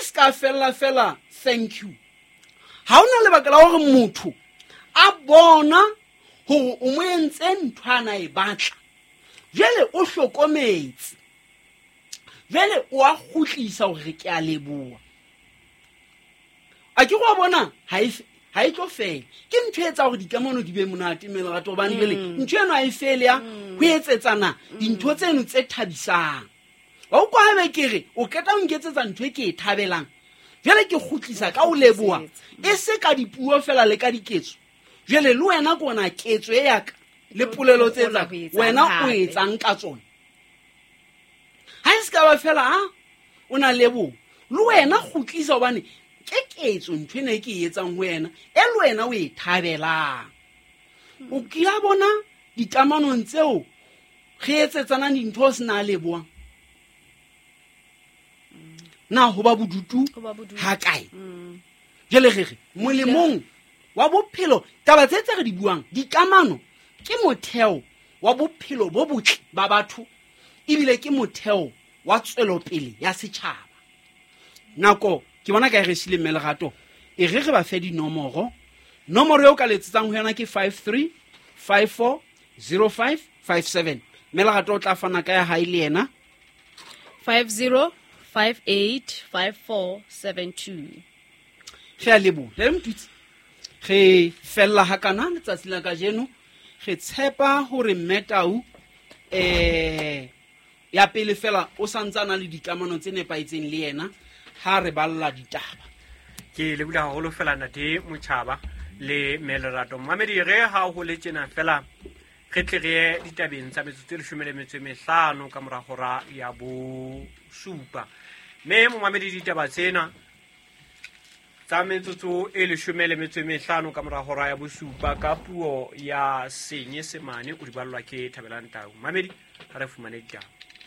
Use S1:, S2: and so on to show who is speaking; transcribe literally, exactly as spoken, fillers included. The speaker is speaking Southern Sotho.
S1: se ka fella fela thank you. Ha ona lebaka la hore motho a bona hore o mo entse ntho ana e batla, jwale o hlokometse, jwale o a kgutlisa hore ke a leboha. A ke go bona ha e ha e tlo fela. Ke ntho e etsa hore dikamano di be monate mme lerato, hobane jwale ntho eno ha e fele ya ho etsetsana dintho tseno tse thabisang. Wa utlwa haebe ke re o qeta ho nketsetsa ntho e ke e thabelang, jwale ke kgutlisa ka o leboha, e se ka dipuo fela le ka diketso. Jwale le wena ke ona ketso e ya ka le polelo tse etsang, wena o etsang ka tsona. Ha e se ka ba fela ha o na leboha, le wena kgutlisa, hobane ke ketso ntho ena e ke e etsang ho wena, e le wena o e thabelang. O kila bona dikamanong tseo re etsetsanang dintho ho sena lebohang, na ho ba bodutu
S2: Ho ba bodutu.
S1: ha kae?
S2: Mm.
S1: Jwale re re molemong wa bophelo, taba tse tse re di buang, dikamano ke motheo wa bophelo bo botle ba batho, ebile ke motheo wa tswelopele ya setjhaba. Nako ke bona ka e re siile mme Lerato, e re re ba fe dinomoro. Nomoro eo ka letsetsang ho yona ke five three five four zero five five seven. Mme Lerato o tla fana ka ya hae le yena.
S2: five zero five eight five four seven two.
S1: Re a leboha. Le Motutsi, re fella hakana letsatsi la kajeno. Re tshepa hore Mme Tau, eh, ya pele fela o santsana le dikamano tse nepahetseng le yena ha re balla ditaba.
S3: Ke lebohile haholo fela ntate Motjhaba le Mme Lerato. Mamedi, re ha ho le tjena fela re tle re ye ditabeng tsa metsotso e leshome le metso e mehlano ka mora hora ya bosupa. Mme momamedi, ditaba tsena tsa metsotso e leshome le metso e mehlano ka mora hora ya bosupa ka puo ya Senyesemane o di ballwa ke Thabelang Tau. Mamedi, ha re fumane ditaba.